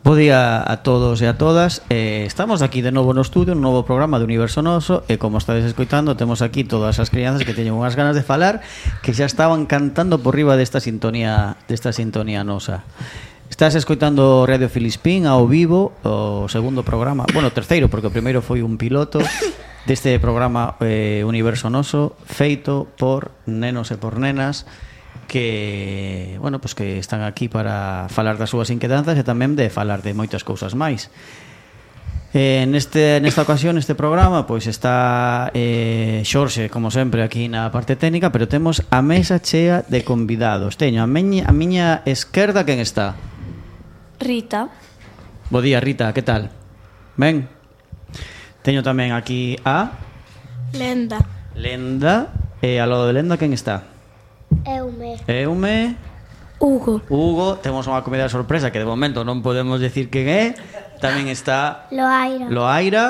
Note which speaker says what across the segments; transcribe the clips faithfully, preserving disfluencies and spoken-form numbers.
Speaker 1: Bo día a todos e a todas. eh, Estamos aquí de novo no estudio, un novo programa de Universo Noso. E como estades escoitando, temos aquí todas as crianzas que teñen unhas ganas de falar, que xa estaban cantando por riba desta sintonía Desta sintonía nosa. Estás escoitando Radio Filispín ao vivo, o segundo programa, bueno, o terceiro, porque o primeiro foi un piloto deste programa eh, Universo Noso, feito por nenos e por nenas que, bueno, pues que están aquí para falar das súas inquedanzas e tamén de falar de moitas cousas máis. Eh, neste, nesta ocasión, este programa, pois está eh, Xorxe, como sempre, aquí na parte técnica, pero temos a mesa chea de convidados. Teño a miña, a miña esquerda, quen está?
Speaker 2: Rita.
Speaker 1: Bo día, Rita, que tal? Ben? Teño tamén aquí a...
Speaker 2: Lenda.
Speaker 1: Lenda. E ao lado de Lenda, quen está?
Speaker 3: Eume.
Speaker 1: Eume.
Speaker 2: Hugo.
Speaker 1: Hugo. Temos unha comida de sorpresa que de momento non podemos decir quen é. Tamén está
Speaker 3: Loaira.
Speaker 1: Loaira.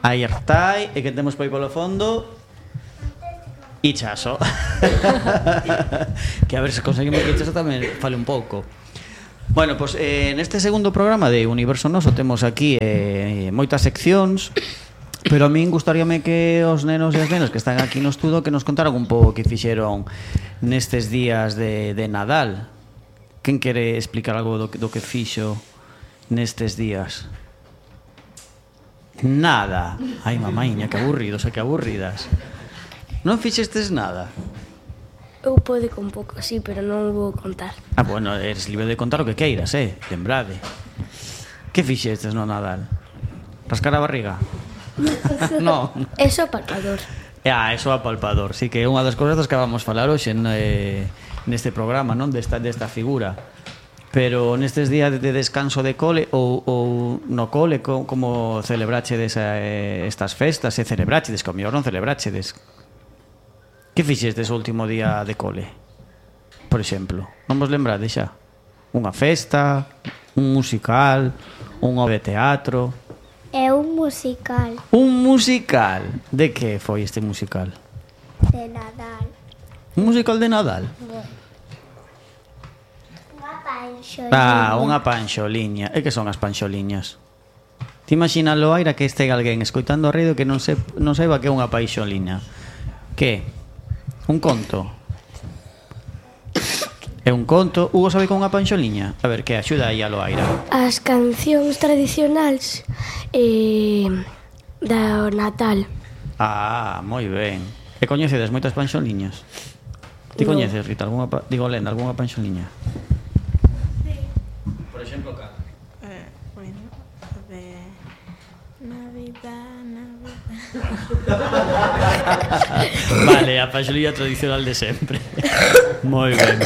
Speaker 1: Aí Artai. E que temos por aí polo fondo Ichaso. Que a ver se conseguimos que Ichaso tamén fale un pouco. Bueno, pois pues, eh, neste segundo programa de Universo Noso temos aquí eh, moitas seccións. Pero a min gustaríame que os nenos e as nenas que están aquí no estudo que nos contaran un pouco que fixeron nestes días de, de Nadal. Quen quere explicar algo do, do que fixo nestes días? Nada. Ai, mamaiña, que aburridos e que aburridas. Non fixestes nada?
Speaker 2: Eu pode con pouco, sí, pero non vou contar.
Speaker 1: Ah, bueno, eres libre de contar o que queiras, eh? Lembrade. Que fixestes no Nadal? Rascar a barriga? No.
Speaker 2: Eso palpador.
Speaker 1: Ah, eso a palpador. Sí, que é unha das cousas das que vamos falar hoxe eh, neste programa, non? Desta, desta figura. Pero nestes días de descanso de cole ou, ou no cole, co, como celebrachedes eh, estas festas? E celebrachedes, que ao mellor non celebrachedes. Que fixestes o último día de cole? Por exemplo, non vos lembrades xa? Unha festa, un musical, unha obra de teatro...
Speaker 3: É un musical.
Speaker 1: Un musical? De que foi este musical?
Speaker 3: De Nadal.
Speaker 1: Un musical de Nadal?
Speaker 3: Unha panxoliña.
Speaker 1: Ah, unha panxoliña. E que son as panxoliñas? Te imaginas, Loaira, que este alguén escoitando a radio que non, se, non saiba que é unha panxoliña? Que? Un conto? É un conto. Hugo sabe con unha panxoliña? A ver, que axuda aí a Loaira.
Speaker 2: As cancións tradicionais eh, da Natal.
Speaker 1: Ah, moi ben. E coñecedes moitas panxoliñas? Ti
Speaker 2: No.
Speaker 1: coñeces, Rita, alguna pa... digo, Lenda, algunha panxoliña? Sí. Por exemplo, cal?
Speaker 4: Eh, bueno, de Navidad, Navidad.
Speaker 1: Vale, a panxoliña tradicional de sempre. Moi ben.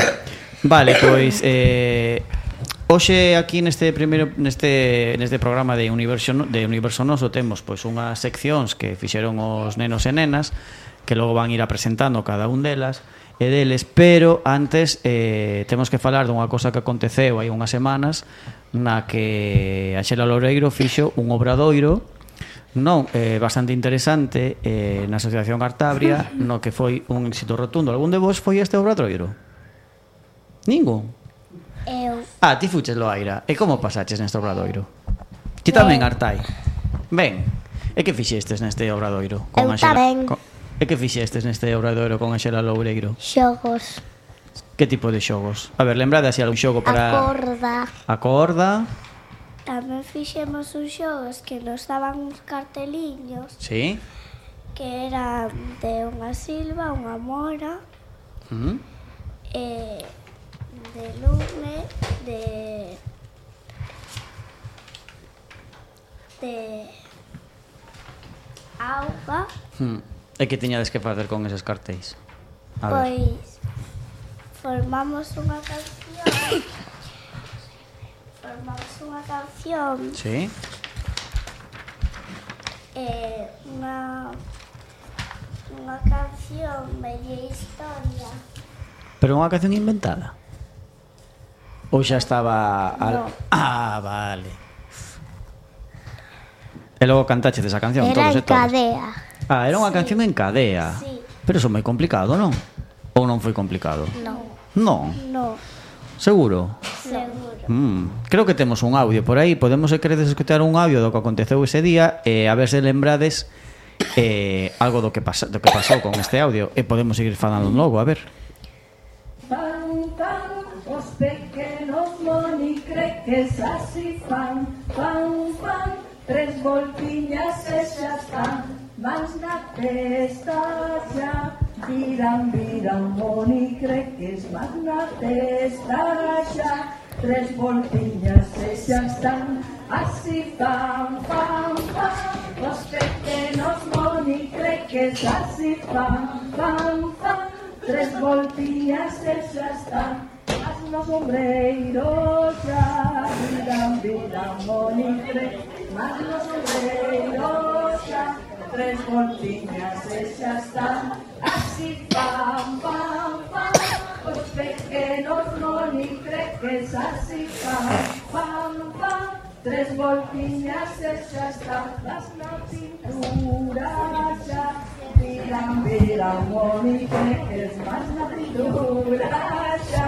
Speaker 1: Vale, pois eh, hoxe aquí neste primeiro neste neste programa de Universo de Universo Noso temos pois unhas seccións que fixeron os nenos e nenas que logo van ir a presentando cada un delas e deles, pero antes eh, temos que falar dunha cosa que aconteceu hai unhas semanas na que a Xela Loureiro fixo un obradoiro non eh, bastante interesante eh, na Asociación Artabria no que foi un éxito rotundo. Algún de vos foi este obradoiro? Ningún?
Speaker 3: Eu.
Speaker 1: Ah, ti fuches, Loaira. E como pasaches neste obradoiro? Ti tamén, Artai? Ben. E que fixestes neste obradoiro?
Speaker 3: Eu tamén.
Speaker 1: Con... E que fixestes neste obradoiro con a Xela Loureiro?
Speaker 3: Xogos.
Speaker 1: Que tipo de xogos? A ver, lembrade así algún xogo para...
Speaker 3: A corda.
Speaker 1: A corda.
Speaker 3: Tamén fixemos uns xogos que nos daban uns carteliños
Speaker 1: Sí.
Speaker 3: que eran de unha silva, unha mora,
Speaker 1: Mm.
Speaker 3: e de lume, de de auga,
Speaker 1: Mm. E que tiñades que facer con eses cartéis? A ver.
Speaker 3: pois formamos unha canción. Formamos unha canción
Speaker 1: Sí.
Speaker 3: e unha unha canción media historia.
Speaker 1: Pero unha canción inventada? Ou xa estaba... Al...
Speaker 3: No.
Speaker 1: Ah, vale. E logo cantaches esa canción
Speaker 3: Era
Speaker 1: todos e
Speaker 3: en
Speaker 1: todos.
Speaker 3: cadea.
Speaker 1: Ah, era unha
Speaker 3: Sí.
Speaker 1: canción en cadea.
Speaker 3: Sí.
Speaker 1: Pero eso é moi complicado, non? Ou non foi complicado?
Speaker 3: No.
Speaker 1: Non.
Speaker 3: No.
Speaker 1: Seguro?
Speaker 3: Sí. Seguro.
Speaker 1: Mm, creo que temos un audio por aí. Podemos, se queredes, escutar un audio do que aconteceu ese día e a ver se lembrades eh, algo do que, pasa, do que pasou con este audio e podemos seguir falando logo, a ver.
Speaker 5: Fan, fan, os pequenos monicreques así fan, fan, fan, tres voltiñas e xa están, mans na testa xa, viran, viran monicreques, mans na testa xa, tres voltiñas e xa están, así fan, fan, fan, os pequenos monicreques así fan, fan, fan, tres voltiñas e xa están, mas no sombreiro xa, viran, viran monicreques, mas no sombreiro xa, tres voltiñas e xa están, así fan, fan, fan, os pequenos monicreques así fan, fan, fan, tres voltiñas e xa están, las na cintura xa, viran, viran monicreques, mas na cintura xa,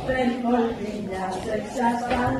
Speaker 5: tres voltiñas e xa están,